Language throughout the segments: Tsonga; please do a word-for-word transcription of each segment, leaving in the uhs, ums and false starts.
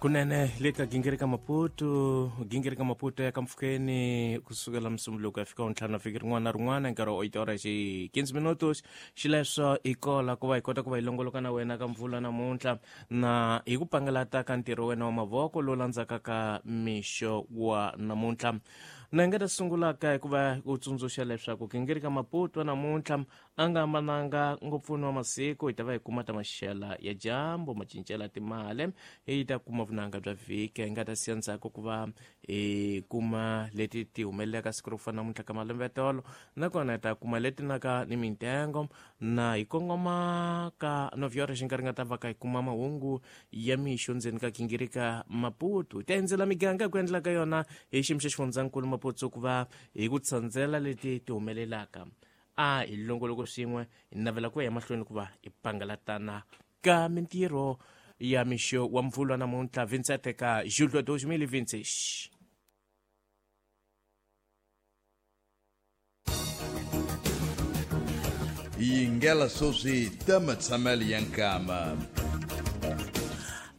Kunene le ka gingirika Maputo, gingirika Maputo ya ka mpfhukeni kusukela Musumbunuko ya fika ntlhanu na vhiki rin'wana na rin'wana nkarhi wa eight horas hi quinze minutos. Xileswo hi kola ku va hi kota ku va hi longoloka na wena ka mpfula namuntlha na hi ku pangalata ka ntirho wena wa mavoko lowu landzaka ka mixo wa namuntlha. Na nga ta sungulaka hi ku va u tsundzuxa leswaku gingirika Maputo namuntlha a nga hambananga ngopfu wa masiku, hi ta va hi kuma ta maxela ya dyambu macincela timali, hi ta kuma vunanga bya vhiki, hi nga ta siya ndzhaku ku va hi kuma leti ti humelelaka siku ro fana namuntlha ka malembe ya tolo, nakona hi ta kuma leti naka ni mintengo na hi kongoma ka nove horas nkarhi nga ta va ka hi kuma mahungu ya mixo ndzeni ka gingirika Maputo. Hi ta endzela miganga hi ku endla ka yona hi xiyimo xa xifundzankulu Maputo ku va hi ku tsandzela leti ti humelelaka. A hi longoloko swin'we hi navela ku ya emahlweni ku va hi pangalatana ka mintirho ya mixo wa mpfula namuntlha vinte e sete ka julho dois mil e vinte e seis. Yingela sweswi ta matshamelo ya nkama.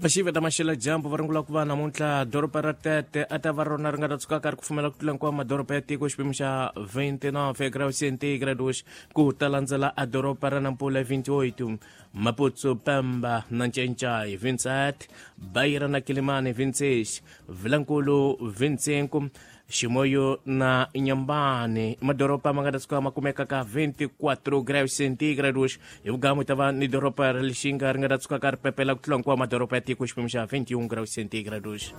Vaxivi ta maxela dyambu va rungula ku va namuntlha doroba ra Tete a ta va rona ri nga ta tshuka ka ri kufumela ku tlula hinkwawo madoroba ya tiko xipimo xa vinte e nove graus centígrados, ku ta landzela a doroba ra Nampula vinte e oito, Maputo, Pemba na Ncencai vinte e sete, Beira na Quelimane vinte e seis, Vilankulu vinte e cinco, Chimoio na Inhambane madoroba ma nga ta tshuka ma kumeka ka vinte e quatro graus centígrados. Hi vugamu ta va ni doroba ra Lixinga ri nga ta tshuka ka ri pepela ku tlula hinkwawo madoroba ya tiko xipimo xa vinte e um graus centígrados.